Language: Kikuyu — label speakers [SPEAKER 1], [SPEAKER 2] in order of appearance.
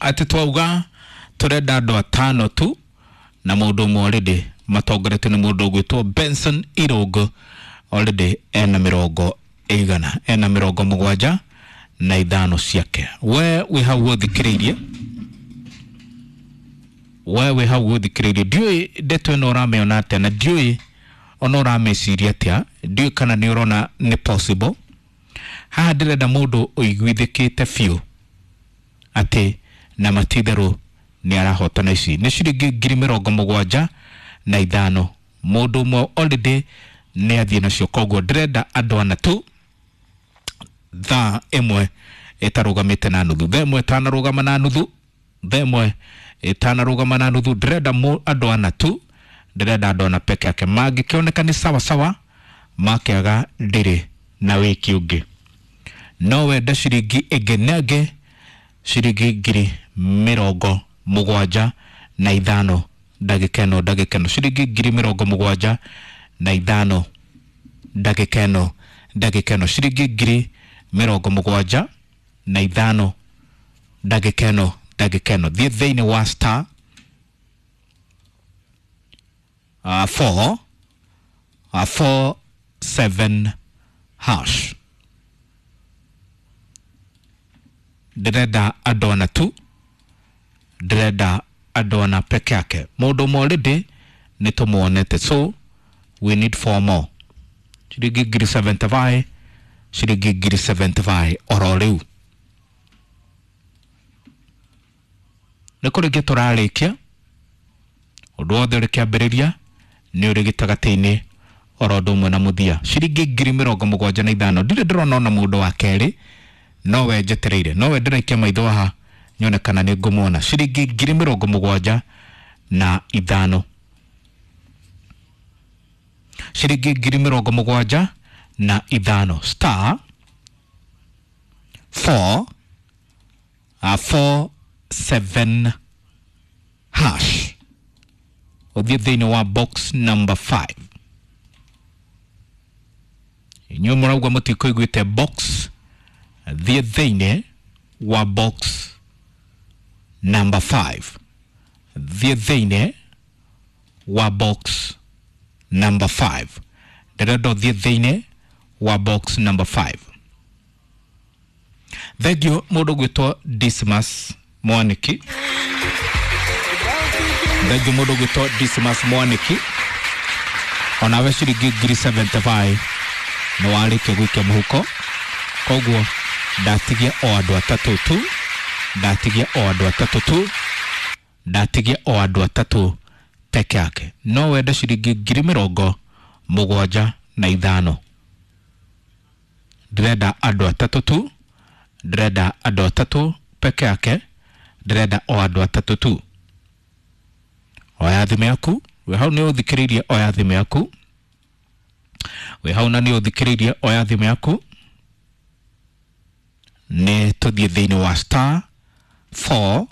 [SPEAKER 1] Atĩ twauga tũrenda andũ atano tu na mũndũ ũmwe already matongoretio nĩ mũndũ ũgwĩtwo Benson Irũngũ, already ena mĩrongo ĩigana, ena 75 ciake. We wĩ hau ũthikĩrĩirie, we wĩ hau ũthikĩrĩirie, ndiũĩ ndeto ĩno ũramĩona atĩa na ndiũĩ ona ũramĩciria atĩa, ndiũĩ kana nĩ ũrona nĩ possible. Haha ndĩrenda mũndũ ũiguithĩkĩte biũ atĩ na matitherũ nĩ arahotana. Ici nĩ ciringi 75,000, mũndũ ũmwe already nĩ athiĩ nacio, koguo ndĩrenda andũ ana tu thaa ĩmwe ĩtarũgamĩte na nuthu, thaa ĩmwe ĩtanarũgama na nuthu, thaa ĩmwe ĩtanarũgama na nuthu, ndĩrenda andũ ana tu, ndĩrenda andũ ana peke yake. Mangĩkĩoneka nĩ sawa sawa, makĩaga ndĩrĩ na wĩki ũngĩ. No wende ciringi ĩngĩ na ĩngĩ, ciringi 75,000 ndagĩka ĩno, ndagĩka ĩno, ciringi 75,000 ndagĩka ĩno, ndagĩka ĩno, ciringi 75,000 ndagĩka ĩno, ndagĩka ĩno. Thiĩ thĩinĩ wa star 4 4 7 hash. Ndĩrenda andũ ana tu, ndĩrenda andũ ana peke yake. Mũndũ ũmwe already nĩ tũmuonete, so we need four more. Ciringi 75,000, ciringi 75,000 oro rĩu. Nĩ kũrĩkia tũrarĩkia, ũndũ wothe ũrĩ kĩambĩrĩria nĩ ũrĩ gĩtagatĩ-inĩ oro ũndũ ũmwe na mũthia. Ciringi 75,000, ndirĩ ndĩrona ona mũndũ wa kerĩ, nowe njetereire, nowe ndĩraikia maitho haha nyone kana nĩ ngũmuona. Ciringi 75,000, ciringi 75,000, star 4 4 7 hash, ũthiĩ thĩinĩ wa box number 5. Inyuĩ mũrauga mũtikũiguĩte box, thiĩ thĩinĩ wa box number 5, thiĩ thĩinĩ wa box number 5, ndĩrenda ũthiĩ thĩinĩ wa box number 5. Thengiũ mũndũ ũgwĩtwo Dismas Mwaniki, thengiũ mũndũ ũgwĩtwo Dismas Mwaniki, onawe ciringi 75,000 nĩ warĩkia gũikia mũhuko, koguo ndatigia o andũ atatũ tu, ndatigia o andũ atatũ tu, ndatigia o andũ atatũ peke yake. No wende ciringi 75,000, ndĩrenda andũ atatũ tu, ndĩrenda andũ atatũ peke yake, ndĩrenda o andũ atatũ tu. Oya thimũ yaku, wĩ hau nĩ ũthikĩrĩirie, oya thimũ yaku, wĩ hau na nĩ ũthikĩrĩirie, oya thimũ yaku, nĩ tũthiĩ thĩinĩ wa star 4